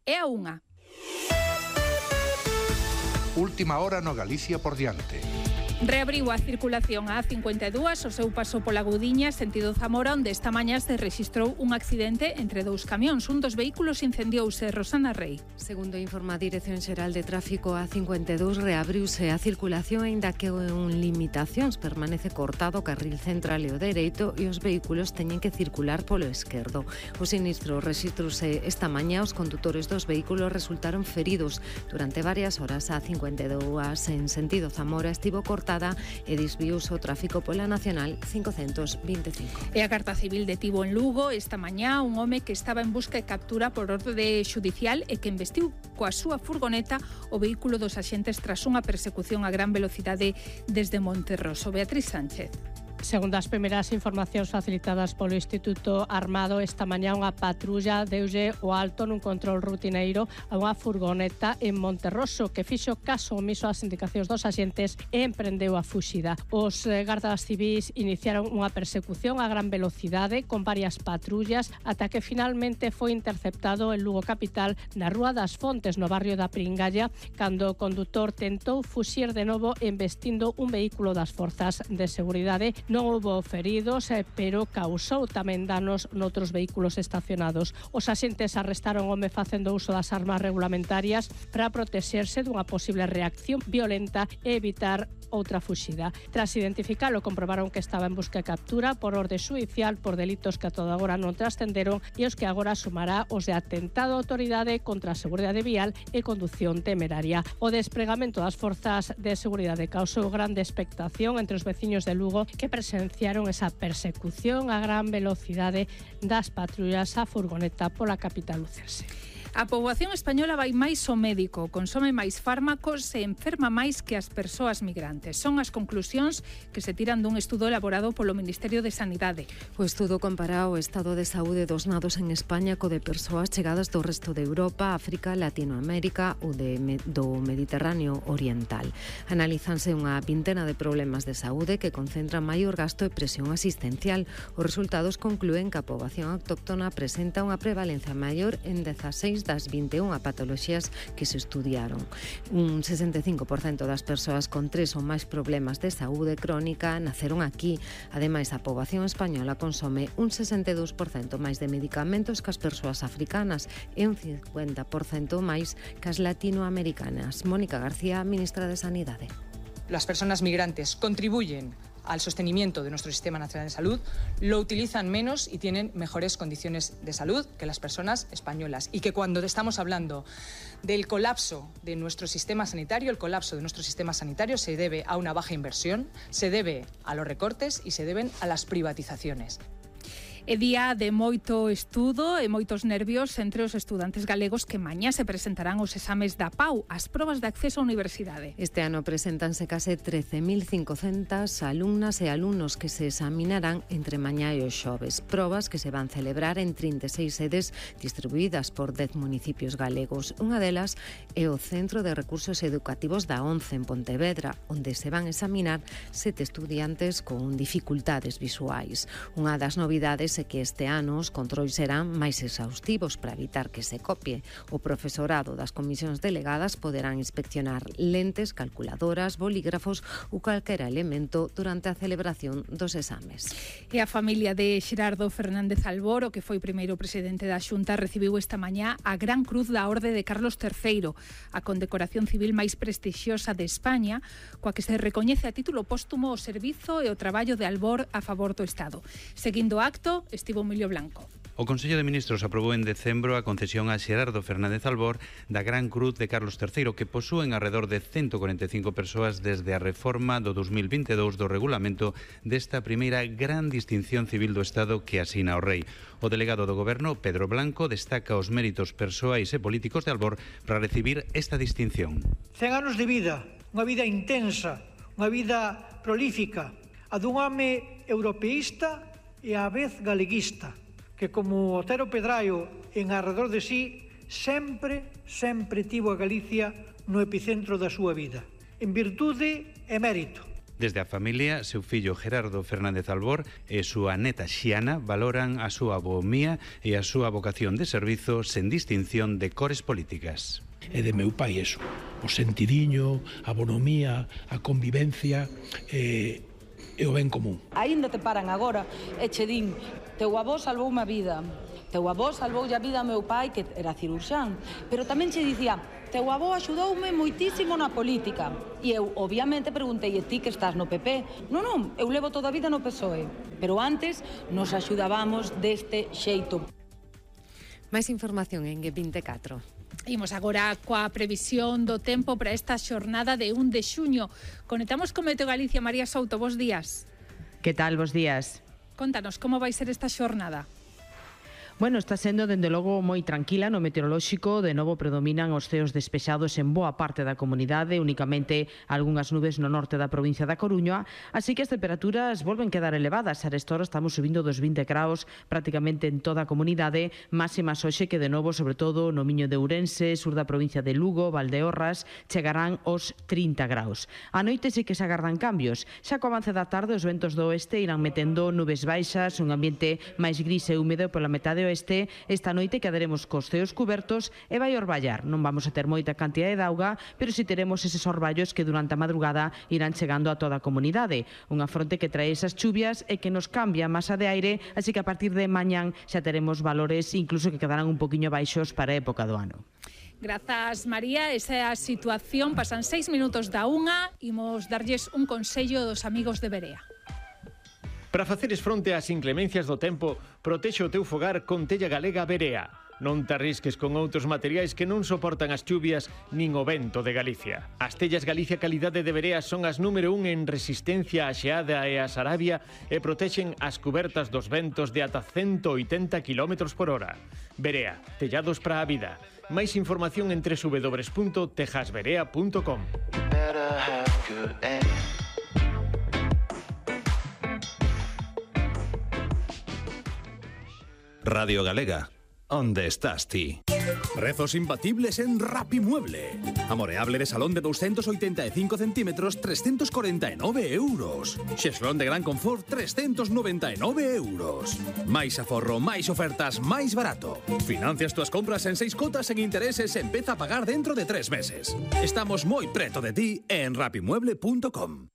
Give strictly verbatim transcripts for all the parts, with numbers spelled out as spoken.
e a unha. Última hora no Galicia por diante. Reabriu a circulación a A cincuenta e dúas o seu paso pola Gudiña, sentido Zamora, onde esta mañá se rexistrou un accidente entre dous camións. Un dos vehículos incendiouse. Rosana Rei. Segundo informa a Dirección Xeral de Tráfico, A cincuenta e dous reabriuse a circulación, aínda que en limitacións permanece cortado o carril central e o dereito e os vehículos teñen que circular polo esquerdo. O sinistro rexistrose esta mañá, os condutores dos vehículos resultaron feridos. Durante varias horas a A cincuenta e dúas en sentido Zamora estivo cortada e desviouse o tráfico pola Nacional cincocentos vinte e cinco. E a Garda Civil detivo en Lugo esta mañá un home que estaba en busca e captura por orde xudicial e que investiu coa súa furgoneta o vehículo dos axentes tras unha persecución a gran velocidade desde Monterroso. Beatriz Sánchez. Segundo as primeiras informacións facilitadas polo Instituto Armado, esta mañá unha patrulla deulle o alto nun control rutineiro a unha furgoneta en Monterroso que fixo caso omiso ás indicacións dos axentes e emprendeu a fuxida. Os gardas civís iniciaron unha persecución a gran velocidade con varias patrullas ata que finalmente foi interceptado en Lugo capital na Rúa das Fontes, no barrio da Pringalla, cando o condutor tentou fuxir de novo embestindo un vehículo das forzas de seguridade. Non houbo feridos, pero causou tamén danos noutros vehículos estacionados. Os axentes arrestaron o home facendo uso das armas regulamentarias para protexerse dunha posible reacción violenta e evitar outra fuxida. Tras identificalo, comprobaron que estaba en busca e captura por orde xudicial por delitos que a toda agora non trascenderon e os que agora sumará os de atentado á autoridade contra a seguridade vial e condución temeraria. O despregamento das forzas de seguridade causou grande expectación entre os veciños de Lugo que presenciaron esa persecución a gran velocidade das patrullas á furgoneta pola capital lucense. A poboación española vai máis ao médico, consome máis fármacos e enferma máis que as persoas migrantes. Son as conclusións que se tiran dun estudo elaborado polo Ministerio de Sanidade. O estudo compara o estado de saúde dos nados en España co de persoas chegadas do resto de Europa, África, Latinoamérica ou de, do Mediterráneo Oriental. Analízanse unha vintena de problemas de saúde que concentran maior gasto e presión asistencial. Os resultados conclúen que a poboación autóctona presenta unha prevalencia maior en dezaseis das vinte e unha patoloxías que se estudiaron. Un sesenta e cinco por cento das persoas con tres ou máis problemas de saúde crónica naceron aquí. Ademais, a poboación española consome un sesenta e dous por cento máis de medicamentos que as persoas africanas e un cincuenta por cento máis que as latinoamericanas. Mónica García, ministra de Sanidade. Las personas migrantes contribuyen al sostenimiento de nuestro Sistema Nacional de Salud, lo utilizan menos y tienen mejores condiciones de salud que las personas españolas. Y que cuando estamos hablando del colapso de nuestro sistema sanitario, el colapso de nuestro sistema sanitario se debe a una baja inversión, se debe a los recortes y se deben a las privatizaciones. É día de moito estudo e moitos nervios entre os estudantes galegos que mañá se presentarán os exames da P A U, as probas de acceso á universidade. Este ano presentanse case trece mil cincocentas alumnas e alumnos que se examinarán entre mañá e os xoves. Probas que se van celebrar en trinta e seis sedes distribuídas por dez municipios galegos. Unha delas é o Centro de Recursos Educativos da ONCE en Pontevedra, onde se van examinar sete estudiantes con dificultades visuais. Unha das novidades é que este ano os controis serán máis exhaustivos para evitar que se copie. O profesorado das comisións delegadas poderán inspeccionar lentes, calculadoras, bolígrafos ou calquera elemento durante a celebración dos exames. E a familia de Xerardo Fernández Albor, o que foi primeiro presidente da Xunta, recibiu esta mañá a Gran Cruz da Orde de Carlos terceiro, a condecoración civil máis prestixiosa de España, coa que se recoñece a título póstumo o servizo e o traballo de Albor a favor do Estado. Seguindo o acto, estivo Emilio Blanco. O Consello de Ministros aprobou en decembro a concesión a Xerardo Fernández Albor da Gran Cruz de Carlos terceiro, que posúen arredor de ciento cuarenta e cinco persoas desde a reforma do dos mil vinte e dous do regulamento desta primeira gran distinción civil do Estado que asina o Rei. O delegado do Goberno, Pedro Blanco, destaca os méritos persoais e políticos de Albor para recibir esta distinción. cen anos de vida, unha vida intensa, unha vida prolífica, a dun home europeísta e á vez galeguista, que como Otero Pedraio en arredor de sí sempre, sempre tivo a Galicia no epicentro da súa vida, en virtude e mérito Desde a familia, seu fillo Gerardo Fernández Albor e súa neta Xiana valoran a súa boomía e a súa vocación de servizo sen distinción de cores políticas. E de meu pai eso, o sentidiño, a bonomía, a convivencia e, e o ben común. Aínda te paran agora e che din, teu avó salvou unha vida, teu avó salvou a vida a meu pai que era cirurxán, pero tamén che dicía, teu avó axudoume moitísimo na política. E eu, obviamente, preguntei, e ti que estás no P P? Non, non, eu levo toda a vida no P S O E. Pero antes nos axudábamos deste xeito. Máis información en G vinte e catro. Imos agora coa previsión do tempo para esta xornada de un de xuño. Conectamos con Meteo Galicia. María Souto, bos días. Que tal, bos días? Contanos, como vai ser esta xornada? Bueno, está sendo, dende logo, moi tranquila no meteorolóxico. De novo predominan os ceos despexados en boa parte da comunidade, únicamente algunhas nubes no norte da provincia da Coruña, así que as temperaturas volven quedar elevadas. A esta hora estamos subindo dos vinte graus prácticamente en toda a comunidade, máximas hoxe que de novo, sobre todo no Miño de Ourense, sur da provincia de Lugo, Valdeorras, chegarán os trinta graus. A noite sí que se agardan cambios. Xa co avance da tarde os ventos do oeste irán metendo nubes baixas, un ambiente máis gris e húmedo pola metade oeste. Esta noite quedaremos cos ceos cubertos e vai orballar. Non vamos a ter moita cantidade de auga, pero si teremos eses orballos que durante a madrugada irán chegando a toda a comunidade. Unha fronte que trae esas chuvias e que nos cambia a masa de aire, así que a partir de mañán xa teremos valores incluso que quedarán un poquinho baixos para a época do ano. Grazas, María. Esa é a situación. Pasan seis minutos da unha. Imos darlles un consello dos amigos de Berea. Para faceres fronte ás inclemencias do tempo, protexe o teu fogar con tella galega Berea. Non te arrisques con outros materiais que non soportan as chuvias nin o vento de Galicia. As tellas Galicia Calidade de Berea son as número un en resistencia á xeada e á sarabia e protexen as cubertas dos ventos de ata ciento oitenta kilómetros por hora. Berea, tellados para a vida. Máis información en doble u doble u doble u punto tejas berea punto com. Radio Galega, onde estás ti? Prezos imbatibles en Rapimueble. Amoreable de salón de doscientos ochenta y cinco centímetros, trescientos cuarenta y nueve euros. Xeslón de gran confort, trescientos noventa y nueve euros. Máis aforro, máis ofertas, máis barato. Financias túas compras en seis cotas en intereses e empeza a pagar dentro de tres meses. Estamos moi preto de ti en rapimueble punto com.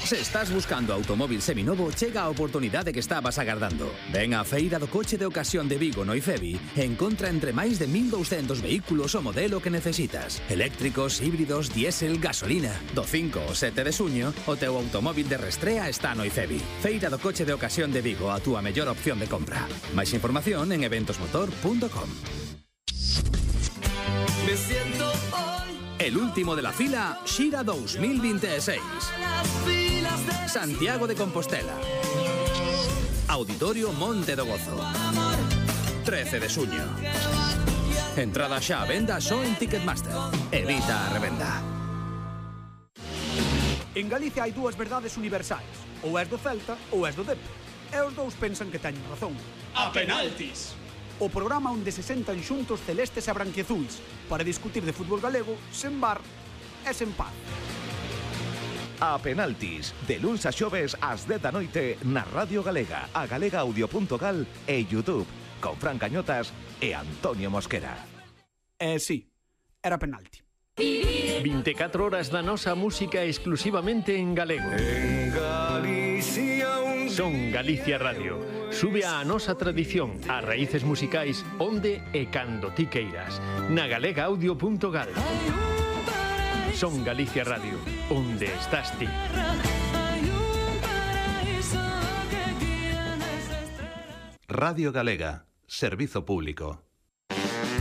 Se estás buscando automóvil seminovo, chega a oportunidade que estabas agardando. Ven á Feira do Coche de Ocasión de Vigo no IFEBI e encontra entre máis de mil doscientos vehículos o modelo que necesitas. Eléctricos, híbridos, diésel, gasolina. Do cinco ao sete de xuño, o teu automóvil de restrea está no IFEBI. Feira do Coche de Ocasión de Vigo, a túa mellor opción de compra. Máis información en eventos motor punto com. Me siento hoy el último de la fila Xira dos mil veintiséis. Santiago de Compostela. Auditorio Monte do Gozo. trece de xuño. Entrada xa a venda só en Ticketmaster. Evita a revenda. En Galicia hai dúas verdades universais. Ou és do Celta ou és do Dep. E os dous pensan que teñen razón. A penaltis. O programa onde se sentan xuntos celestes e branquiazuis para discutir de fútbol galego sen bar e sen paz. A penaltis, de luns a xoves ás dez da noite na Radio Galega, a galega audio punto gal e YouTube, con Fran Cañotas e Antonio Mosquera. Eh, sí, era penalti. vinte e catro horas da nosa música exclusivamente en galego. En Galicia un... Son Galicia Radio. Sube a nosa tradición, as raíces musicais onde e cando ti queiras. Na galega audio punto gal. Son Galicia Radio, onde estás ti. Radio Galega, servizo público.